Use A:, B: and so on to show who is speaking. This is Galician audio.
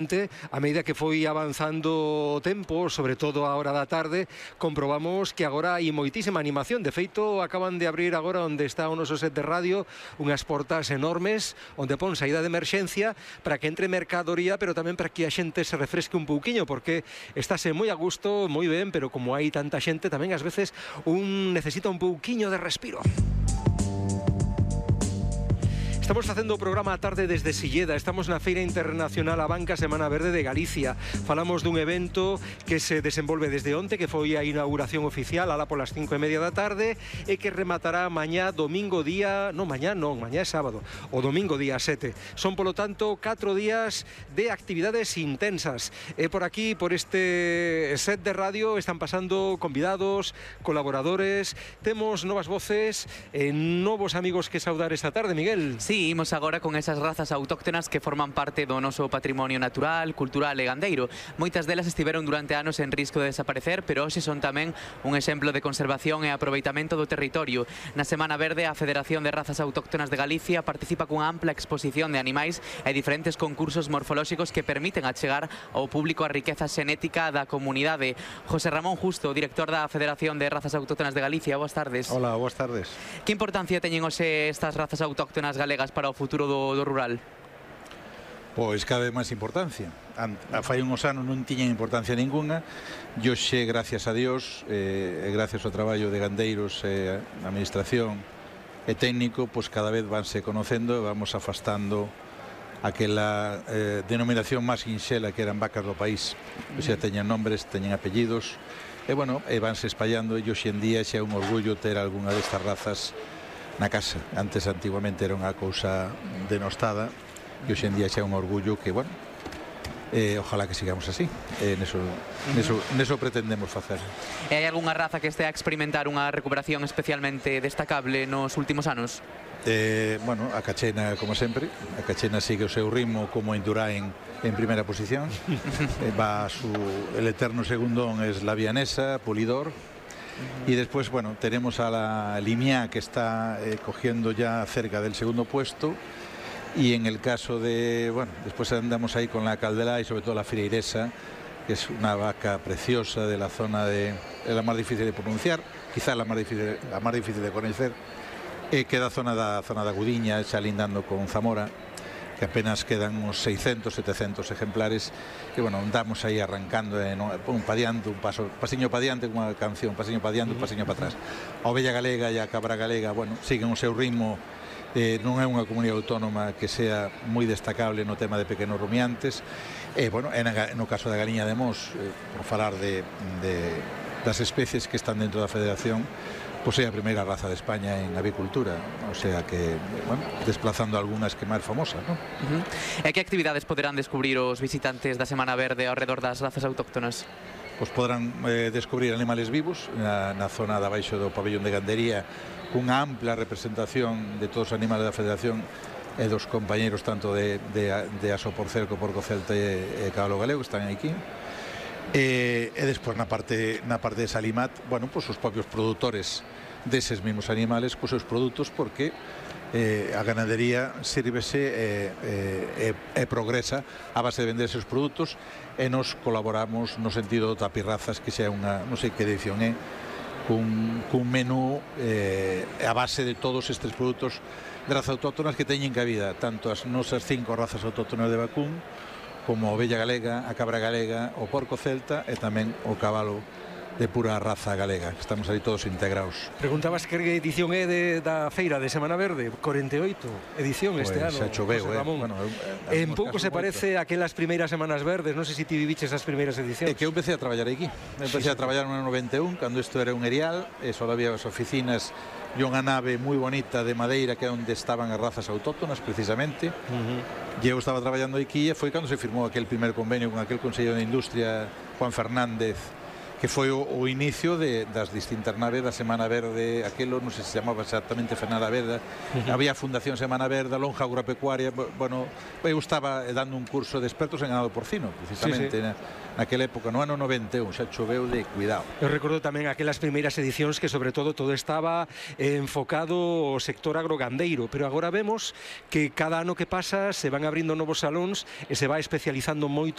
A: A medida que foi avanzando o tempo, sobre todo a hora da tarde, comprobamos que agora hai moitísima animación. De feito, acaban de abrir agora onde está o noso set de radio unhas portas enormes onde pon saída de emerxencia para que entre mercadoría, pero tamén para que a xente se refresque un pouquiño, porque estáse moi a gusto, moi ben, pero como hai tanta xente, tamén ás veces un necesita un pouquiño de respiro. Estamos facendo o programa a tarde desde Silleda. Estamos na Feira Internacional A Banca Semana Verde de Galicia. Falamos dun evento que se desenvolve desde onte, que foi a inauguración oficial alá polas 5:30 da tarde e que rematará mañá domingo día... Non, mañá é sábado. O domingo día 7. Son, polo tanto, 4 días de actividades intensas. E por aquí, por este set de radio, están pasando convidados, colaboradores. Temos novas voces e novos amigos que saudar esta tarde, Miguel.
B: Sí, imos agora con esas razas autóctonas que forman parte do noso patrimonio natural, cultural e gandeiro. Moitas delas estiveron durante anos en risco de desaparecer, pero hoxe son tamén un exemplo de conservación e aproveitamento do territorio. Na Semana Verde, a Federación de Razas Autóctonas de Galicia participa cunha ampla exposición de animais e diferentes concursos morfolóxicos que permiten achegar ao público a riqueza xenética da comunidade. José Ramón Justo, director da Federación de Razas Autóctonas de Galicia, boas tardes.
C: Hola, boas tardes.
B: Que importancia teñen hoxe estas razas autóctonas galegas para o futuro do rural?
C: Pois cada vez máis importancia. Fai uns anos non tiñan importancia ninguna e hoxe, gracias a Dios, gracias ao traballo de gandeiros, administración e técnico, pois cada vez vanse conocendo e vamos afastando aquela denominación máis sinxela que eran vacas do país. O sea, teñen nombres, teñen apellidos e, bueno, vanse espallando e hoxe en día xa é un orgullo ter algunha destas razas na casa. Antes, antiguamente, era unha cousa denostada e hoxe en día xa é un orgullo que, bueno, ojalá que sigamos así. Neso pretendemos facer.
B: E hai algunha raza que este a experimentar unha recuperación especialmente destacable nos últimos anos?
C: Bueno, a cachena, como sempre. A cachena sigue o seu ritmo como Indurain en primeira posición. El eterno segundón es la vianesa, Pulidor. Y después, bueno, tenemos a la Limiá, que está cogiendo ya cerca del segundo puesto. Y en el caso de, bueno, después andamos ahí con la Caldelá y sobre todo la Fireiresa, que es una vaca preciosa de la zona de la más difícil de pronunciar, quizás la más difícil de conocer, queda zona da Gudiña, xa lindando con Zamora, que apenas quedan uns 600, 700 ejemplares que, bueno, andamos aí arrancando un pa diante, pasiño pa diante, unha canción, pasiño pa diante, un pasiño pa atrás. A ovella galega e a cabra galega, bueno, siguen o seu ritmo. Non é unha comunidade autónoma que sea moi destacable no tema de pequenos rumiantes. Bueno, no caso da galiña de Mos, por falar das especies que están dentro da Federación, pois é a primeira raza de España en avicultura, o sea que, bueno, desplazando algunhas que máis famosas, non?
B: E que actividades poderán descubrir os visitantes da Semana Verde ao redor das razas autóctonas?
C: Pois poderán descubrir animales vivos na zona de abaixo do pabellón de gandería, cunha ampla representación de todos os animales da Federación e dos compañeros tanto de Aso por Cerco, Porco Celta e Cabalo Galego, que están aquí. E despois na parte de Salimat, bueno, pois os propios produtores deses mesmos animales cos seus produtos, porque a ganadería sírvese e progresa a base de vender seus produtos e nos colaboramos no sentido do Tapirrazas, que xa é unha, non sei que edición é, cun menú a base de todos estes produtos de razas autóctonas que teñen cabida, tanto as nosas 5 razas autóctonas de vacún, como a ovella galega, a cabra galega, o porco celta e tamén o cabalo de pura raza galega. Estamos aí todos integrados.
A: Preguntabas que edición é da Feira de Semana Verde, 48 edición este ano.
C: Xa choveu,
A: bueno, en pouco se parece a aquelas primeiras Semanas Verdes, non sei se ti viviches as primeiras edicións.
C: É que eu empecé a traballar aquí. Empecé a traballar no ano 91, cando isto era un erial, e só había as oficinas e unha nave moi bonita de madeira que é onde estaban as razas autóctonas, precisamente. E eu estaba traballando aquí e foi cando se firmou aquel primer convenio con aquel Consello de Industria, Juan Fernández, que foi o inicio das distintas naves da Semana Verde, aquilo non sei se chamaba exactamente Semana Verde, había a Fundación Semana Verde, a lonja agropecuaria, bueno, eu estaba dando un curso de expertos en ganado porcino, precisamente, naquela época, no ano 91, xa choveu de cuidado.
A: Eu recordo tamén aquelas primeiras edicións que sobre todo estaba enfocado ao sector agrogandeiro, pero agora vemos que cada ano que pasa se van abrindo novos salóns e se va especializando moito